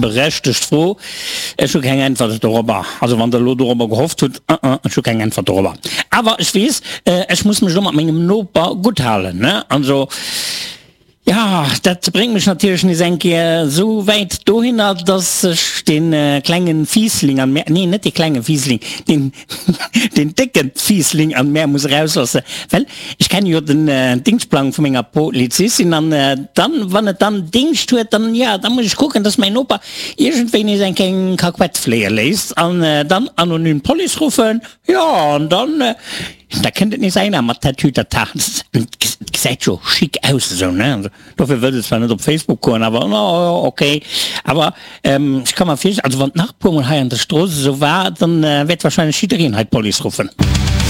Berechtegt Fro. Ech hu keng Äntwert dorobber. Also wann der elo dorobber gehofft hutt, uh uh, ech hu keng Äntwert dorobber. Awer ech weess, ech muss mech elo mat mengem Noper gutt halen, ne? Also, jo, dat bréngt mech natierlech nees eng Kéier esou wäit dohinner, dass ech dee klenge Fiissling an mär, nee, net dee klenge Fiissling, deen, deen décke Fiissling an mär muss erausloossen, well Ech kenne jo den Dingschtplang vu menger Polizistin an dann, wann et dann Dingscht huet, dann, jo, da muss ech kucken, dass mäin Noper iergendwéi nees eng kleng Kakuett fléie léisst an dann anonym d'Police ruffen, jo, an dann, da kënnt et nees einer mat Tatütata. Et gesäit jo chic aus esou, ne? Dofir wëllt et zwar net op Facebook goen, awer no, ok. Awer ech ka mer virstellen, also wann et nach e puer mol hei an der Strooss esou war, dann wäert wahrscheinlech jiddereen hei d'Police ruffen.